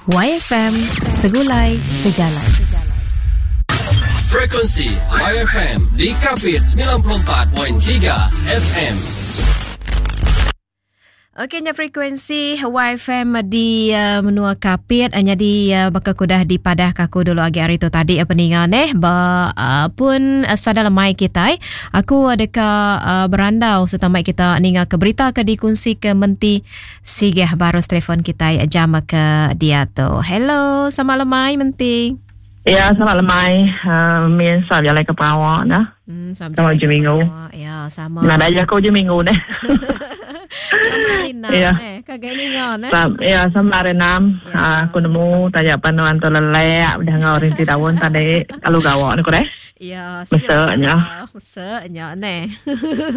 YFM Segulai Sejalai. Frekuensi YFM di Kapit 94.3 FM. Okey nya frekuensi YFM di uh, menua Kapit uh, jadi uh, baka kudah dipadah ka aku dulu agi hari tu tadi uh, peninga neh ba uh, pun uh, sada lemai kitai aku uh, deka uh, berandau serta mai kita ninga ke berita ke dikunsi ke menti Sigeh barus telefon kitai jam ke diatu. Hello, selamat lemai menti. Ya, selamat lemai. Uh, min sa jalai ke pengawa dah. Sama ujung minggu. Ya, sama. Nadai jaku ujung minggu neh. Sama hari enam Ya. neh. Kagai ninga neh. Sam, ya, sama hari enam. Ya. Ah, aku nemu taja pan nuan tu lelek udah enggau rinti daun tadi lalu gawa ne ku deh. Ya, Mesek nya. Mesek nya neh.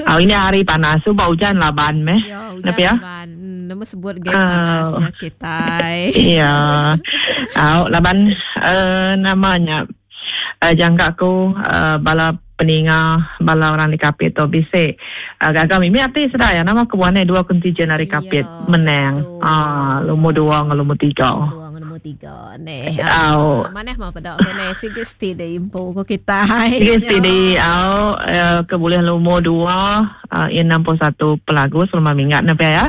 Oh, ini hari panas tu ba hujan laban meh. Ya, hujan Tapi ya. laban. Nama sebut gaya panasnya kitai. Ya. Au laban uh, namanya uh, jangka aku uh, bala peninga bala orang di Kapit tu bisi uh, gaga mimi ati sedai ya nama kebuah dua kontijen ari Kapit ya, menang. Ah, lumur dua dengan lumur tiga. Dua dengan lumur tiga neh. Au. Manah mah peda ko neh sigi steady info ko kitai. Sigi steady au eh, ke bulih lumur dua uh, 61 pelagu selama minggat ne ya.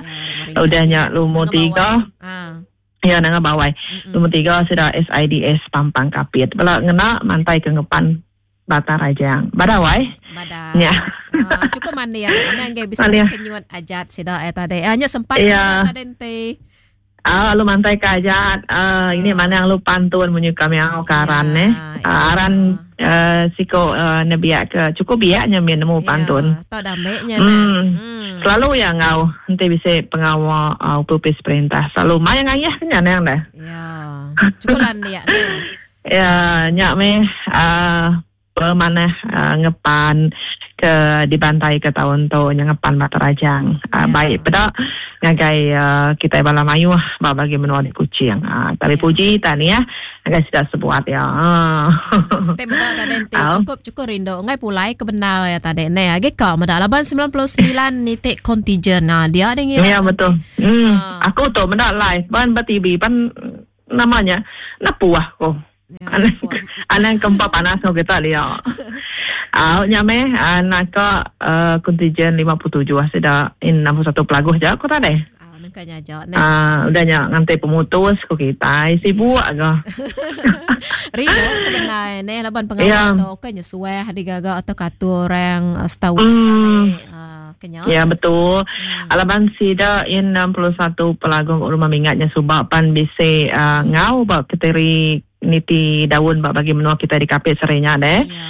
Udah nya lumur tiga. Ah. Ya nanga bawai. Lumur tiga sida SIDS Pampang Kapit. Bala ngena mantai ke ngepan Batang Rajang. Bada wai. Bada. Ya. Ah, cukup mandi ya. Mana ngai bisa kenyuat ajat sida eh tadi. Ah, nya sempat ya. tadi enti. Ah, lu mantai ke ajat. Ah, ini mana lu pantun munyi kami au ke aran ya, eh. Ya. Aran uh, siko uh, nebiak ke cukup biaknya min nemu pantun. Ya, tau dameknya hmm. Selalu ya ngau enti bisi pengawa uh, upis perintah. Selalu mai ngayah kenya nang dah. Ya. Cukup landiak ne. Ya, nyak meh uh, pemanah uh, ngepan ke dibantai ke tahun tu nya ngepan Batu Rajang. Uh, Ya. Baik peda ngagai uh, kita bala mayuh ba bagi menua di Kuching. Tapi puji tahniah ngagai sida sebuat ya. Te meda tadi enti cukup cukup rindu ngai pulai ke benar ya tadi ne. Agi ka meda laban 99 nitik kontijen. Nah, dia ada ngira. Ya betul. Aku tu meda live ban ba TV pan namanya napuah ko. Ya, Anang kempa panas ko kita dia. Au nya meh anak ka kontijen 57 sida in 61 pelaguh je aku tadi. Ah, nengka nya aja ne. Ah, udah nya nganti pemutus ko kita sibuk aga. Rindu ke benar ne laban pengawa Ya. tu kan nya suah digaga atau katur orang setahun sekali. Ah, kenya. Ya betul. Alaban sida in 61 pelagung rumah mingatnya subak pan bisi uh, ngau ba keteri niti daun ba bagi menua kita di Kapit serinya deh. Ya.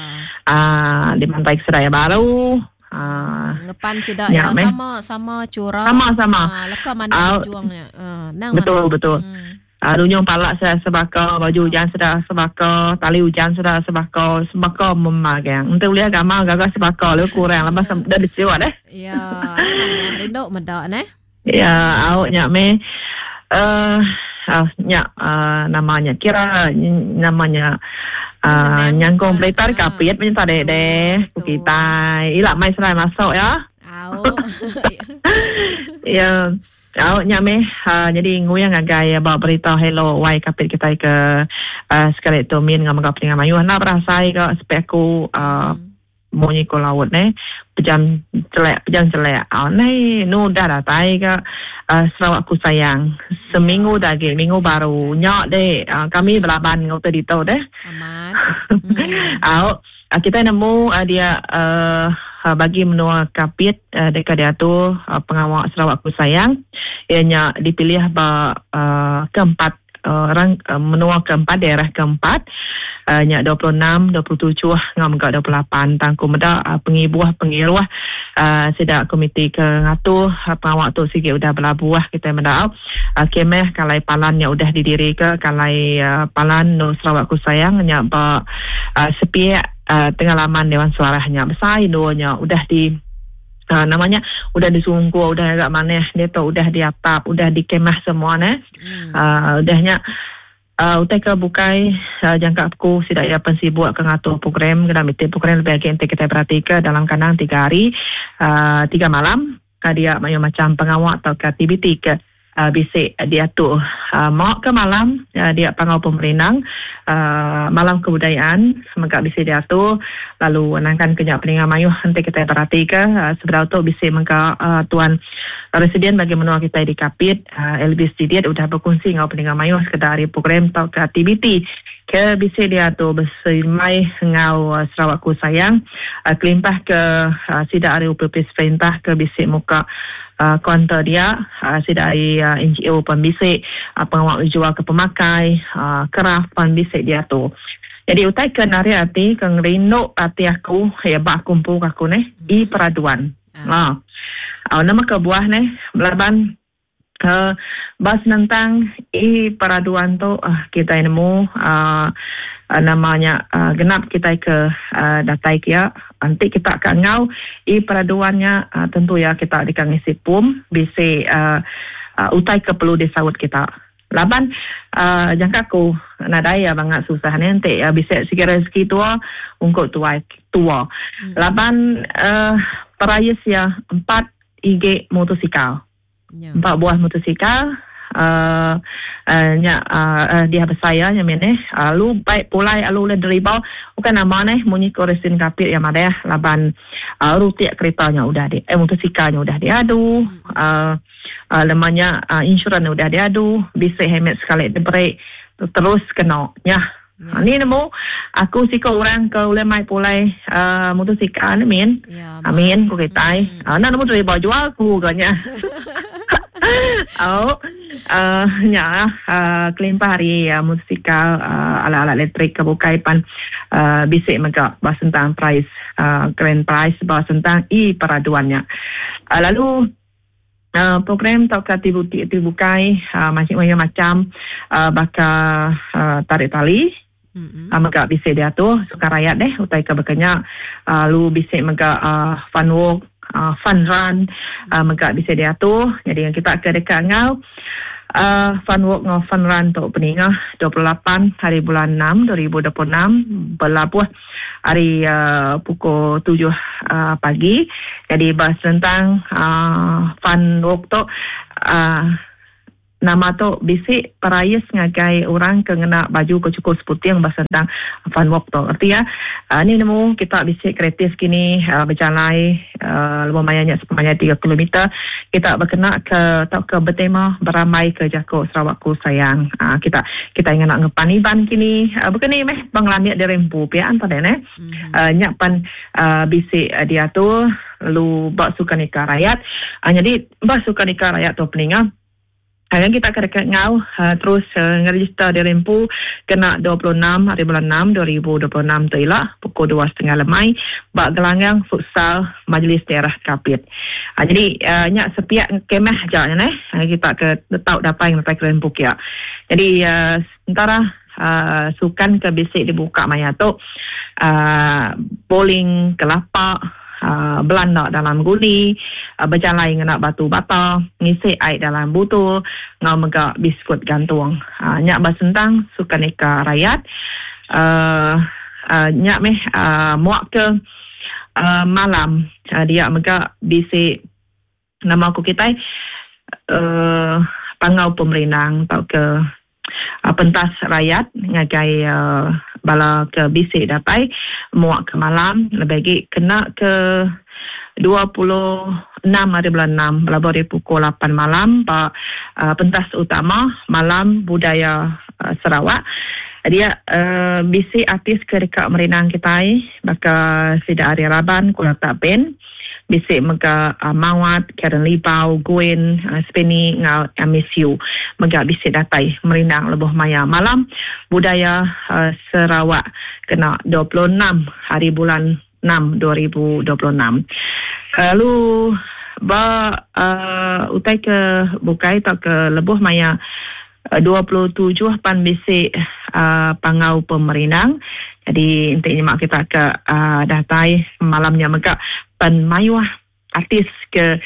Ah, di Pantai Seraya Baru. Ah, Ngepan sida Ya, ya, meh. sama sama curah. Sama sama. Ah, leka mana Ah, berjuangnya. Ah, nang betul mana. betul. Ah, runyung palak sudah sebaka, baju hujan sudah sebaka, tali hujan sudah sebaka, sebaka memagang. Untuk boleh agama gagah sebaka, lu kurang lepas dah disiwa deh. Ya, mana rindu medak neh. Ya, awak nyak me. Eh, uh, nyak uh, namanya kira namanya Mengenang nyangkong betul. peletar Ah, kapit macam tadi betul, deh. betul. Kita ilak mai serai masuk ya. Au. Ya. Awak nyak meh uh, jadi nguyang ngagai bawa berita hello wai kapit kita ke uh, sekali tu min ngam ngap dengan mayu nak berasai ke spek aku munyi ko laut ne pejam celek ah nei nu dah datai ke uh, Sarawak ku sayang seminggu Ya, dah lagi minggu baru nyak deh uh, kami belaban ngau tadi tu deh Aman. Au, kita nemu uh, dia uh, bagi menua Kapit uh, dekat dia tu uh, pengawal Sarawak ku sayang ianya dipilih ba uh, keempat uh, orang uh, menua keempat daerah keempat uh, nya 26 27 ngam ke 28 tangku meda uh, pengibuah pengiruah uh, sida komiti ke ngatu uh, pengawal tu sikit udah belabuah kita meda uh, kemeh kalai palan nya udah didiri ke kalai uh, palan nu Sarawak ku sayang nya ba uh, sepiak uh, tengah laman Dewan Suarahnya besar indonya udah di uh, namanya udah disungguh udah agak maneh dia tu udah diatap udah dikemah semua ne. Udahnya utai ke bukai uh, jangka aku sidak ya pensibuk ke ngatur program kena meeting program lebih lagi kita perhati ke dalam kandang 3 hari 3 malam ka dia mayu macam pengawak atau ke aktiviti ke Bisi diatu ma ke malam dia Panggau Pemerindang malam kebudayaan mega bisi diatu lalu nangkan ke nya peninga mayuh enti kitai beratika sebedau tu bisi mega tuan Residen bagi menua kitai di Kapit Elvis Didit udah bekunsi enggau peninga mayuh sekeda ari program tauka aktiviti ke bisi diatu beserimbai enggau Sarawakku Sayang kelimpah ke sida ari opis perintah ke bisi muka Kaunter dia, sida ari NGO pan bisi, pengawa bejualka pemakai, kraf pan bisi diatu. Nyadi utai ke narit ati ke ngerindu ati aku iya ba aku empu ke aku neh, e-peraduan. Ha. Nama kebuah neh laban ba senentang e-peraduan tu kitai nemu nama nya genap kitai ke datai kia. Enti kita ka enggau e-peraduan nya tentu iya kita deka ngisi pom bisi utai ke perlu disaut kita. Laban jangka aku nadai iya bangat susah nih enti bisi sigi rezeki tua ungkup tuai tua. Laban perais iya empat igi motosikal. Empat buah motosikal uhh nya uhh diah besai iya nya mih neh lalu bai pulai lalu ulih deriba bukan nama neh munyi ko resin kapit iya madah laban uhh rutik kereta nya udah di eh motosikal nya udah diadu uhh leman nya insurans udah diadu bisi helmet sekali diberi terus kena nyah. Ya. Ni nemu aku siku orang ke ulih mai pulai uh, motosikal ni min. Ya, Amin ku kitai. Hmm. Uh, nemu driver jual ku ga nya. Oh, uh, nya uh, kelimpah ari uh, motosikal uh, alat-alat elektrik ke bukai pan uh, bisi mega ba sentang prize uh, grand prize ba sentang e-peraduan nya. Uh, lalu Program tauka aktiviti ti bukai mayuh macham baka tarik tali mega bisi diatur sukan rayat deh utai ke baka nya lalu bisi mega fun walk fun run mega bisi diatur nyadi kita ke deka enggau fun walk enggau fun run tu peningah 28 hari bulan enam 2026 belabuh ari pukul tujuh pagi. Jadi ba senentang fun walk tu nama tu bisi perais ngagai orang ke ngena baju ke chukup seputing ba senentang fun walk tu. Reti iya ni nemu kita bisi kreatif kini bejalai lebuh maya nya sepemanjai tiga kilometer kita bekena ke tauka betema berambai ke jaku Sarawakku Sayang. Kita kitai ngena ngepan Iban kini baka ni meh pengelandik diri empu pia enta deh neh. Nya pan bisi diatur lalu ba sukaneka rayat. Nyadi ba sukaneka rayat tu peninga. Ngagai kita ke deka enggau terus ngerejister diri empu kena 26 hari bulan enam 2026 tu ila pukul dua setengah lemai ba Gelanggang Futsal Majlis Daerah Kapit. Jadi nya sepiak kemah aja nya neh ngagai kita ke tau datai ngeretai keren empu kia. Jadi entara sukan ke bisi dibuka maya tu bowling kelapa. Belanda dalam guni, bejalai ngena batu bata, ngisi ai dalam butul enggau mega biskut gantung. Nya ba sentang sukaneka rayat. Nya meh muak ke malam dia mega bisi nama ku kitai panggau pemerindang tauka pentas rayat ngagai bala ke bisi datai muak ke malam lebih agi kena ke 26 hari bulan enam belabuh ari pukul lapan malam ba pentas utama Malam Budaya Sarawak. Dia bisi artis ke deka merindang kitai baka sida ari raban Kulata Band. Bisi mega Mawat, Karen Libau, Gwen, Speni enggau Amy Siew mega bisi datai merindang lebuh maya Malam Budaya Sarawak kena 26 hari bulan enam 2026. Lalu ba utai ke bukai tauka lebuh maya 27 pan bisi panggau pemerindang. Jadi enti nyema kita ke datai malam nya mega pen mayuh artis ke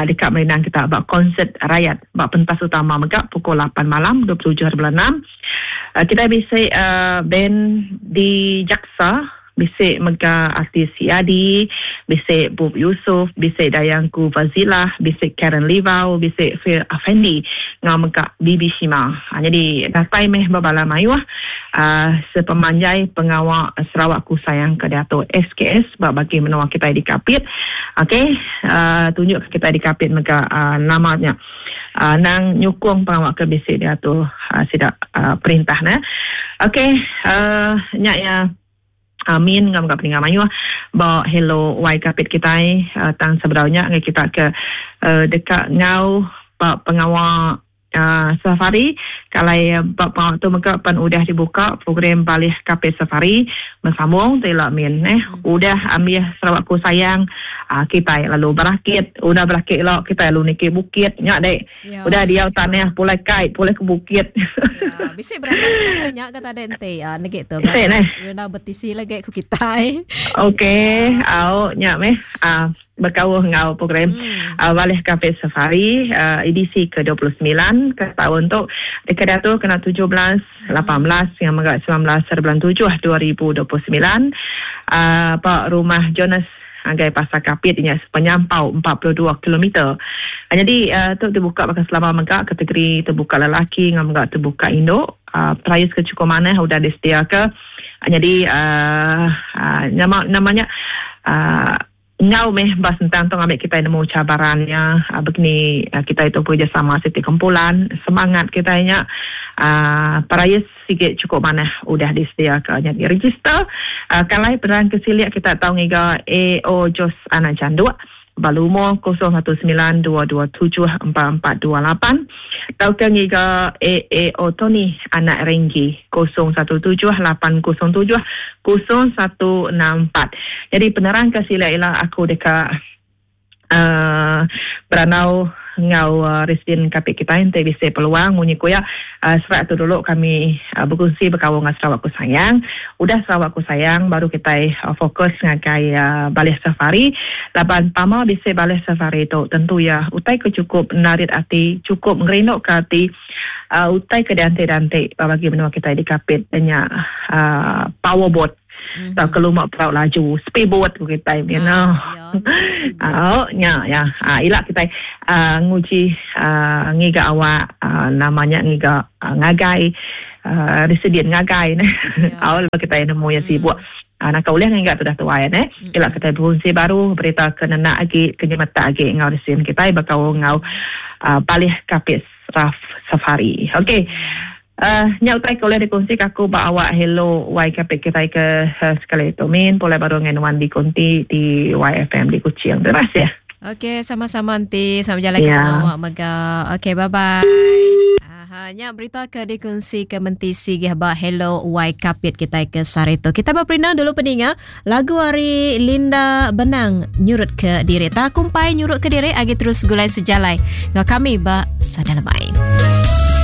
deka merindang kita ba konsert rayat ba pentas utama mega pukul lapan malam 27 hari bulan enam. Kitai bisi band di Jaksa. bisi mega artis Yadi, bisi Bub Yusuf, bisi Dayangku Fazilah, bisi Karen Livau, bisi Phil Afendi enggau mega Bibi Shima. Nyadi datai meh bebala mayuh sepemanjai pengawa Sarawakku Sayang ke diatu SKS ba bagi menua kitai di Kapit. Okey tunjuk kitai di Kapit mega nama nya. Anang nyukung pengawa ke bisi diatur sida perintah ne. Okey nya iya amin enggau mega peninga mayuh ba hello wai kapit kitai tang sebedau nya ngagai kita ke deka enggau ba pengawa safari kalai ba pengawa tu mega pen udah dibuka program Balih Kapit Safari besambung ti ila min neh udah ambih Sarawak ku sayang Kitai lalu berakit, udah berakit ila kitai lalu niki bukit nya dek. Ya. Udah diau tanah pulai kai pulai ke bukit. Ya, bisi berandau pasal nya ke tadi enti ah negi tu. Bisi neh. Berandau betisi lagi ku kitai. Okey, au nya meh ah bekaul enggau program hmm. uh, Balih Kapit Safari uh, edisi ke-29 ke tahun tu deka diatur kena 17, 18 yang mega 19 hari bulan 7 2029 uh, ba rumah Jonas ngagai Pasar Kapit nya sepenyampau 42 kilometer. Nyadi tu dibuka baka selama mega kategori tebuka lelaki enggau mega tebuka indu. Perais ke chukup manah udah disediaka. Nyadi nama nama nya enggau meh ba sentang tu ngambi kitai nemu cabaran nya begini kitai tu bekerjasama siti kumpulan semangat kitai nya perais Sigi chukup manah udah disediaka nyadi register. Kalai penerang ke silik kita tau ngiga AO Jos Anak Janduk ba lumur 0192274428 tauka ngiga AAO Tony Anak Renggi 0178070164. Nyadi penerang ke silik ila aku deka Berandau enggau Residen Kapit kitai enti bisi peluang munyi ku iya serak tu dulu kami bekunsi bekaul enggau Sarawak Ku Sayang. Udah Sarawak Ku Sayang baru kitai fokus ngagai Balih Safari laban pama bisi Balih Safari tu tentu iya utai ke chukup narit ati chukup ngerinduka ati utai ke dianti-anti ba bagi menua kitai di Kapit nya power boat. Mm-hmm. Tau ke luma perau laju speedboat ku kitai you know. Ah, oh, nya ya. Ah, ila kitai uh, nguji uh, ngiga awak uh, namanya ngiga uh, ngagai uh, resident ngagai ne. Yeah. Awal kitai nemu ya sibuk. Mm. Uh, naka ulih ngiga tu dah tuai ne. Mm. Ila kitai berungsi baru berita ke nenak agi ke nyemetak agi enggau resident kitai bakau enggau uh, Balih Kapit Raf Safari. Okey. Nya utai ke ulih dikongsi ke aku ba awak hello Y Kapit kitai ke sekali tu. Min pulai baru ngagai nuan di konti di YFM di Kuching. Terima kasih. Okey, sama-sama enti sama jalai ke pengawa mega. Okey, bye bye. Aha, nya berita ke dikongsi ke menti sigih ba Hello Y Kapit kitai ke sehari tu. Kita beperindang dulu peninga lagu ari Linda Benang nyurut ke diri. Tak kumpai nyurut ke diri agi terus gulai sejalai ngau kami ba Sada Lemai.